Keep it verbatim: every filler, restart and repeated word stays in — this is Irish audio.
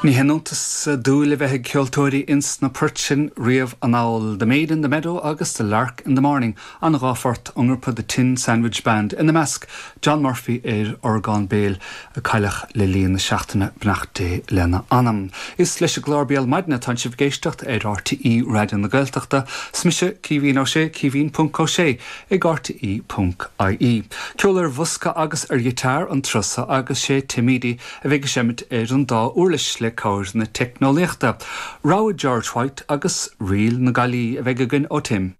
Ní hiontas dúil a bheith ag ceoltóirí ins na poirt sin riamh anall The Maid in the Meadow agus The Lark in the Morning an dhá phort ón ngrúpa The Tin Sandwich Band ina measc John Murphy ar orgán béil a cailleadh le linn na seachtaine beannacht Dé lena anam. Is leis an gclár Béal Maidine atá sibh ag éisteacht ar RTÉ Raidió na Gaeltachta, 's mise Caoimhín Ó Sé Caoimhín ponc Ó Sé ag RTÉ ponc IE. Ceol ar bhosca agus ar ghiotár an turas seo agus sé Tim Edey a bheidh ag seimint ar an dá uirlis le cabhair na teicneolaíochta. Rogha George White agus Ríl na Gaillí a bheidh againn ó Tim.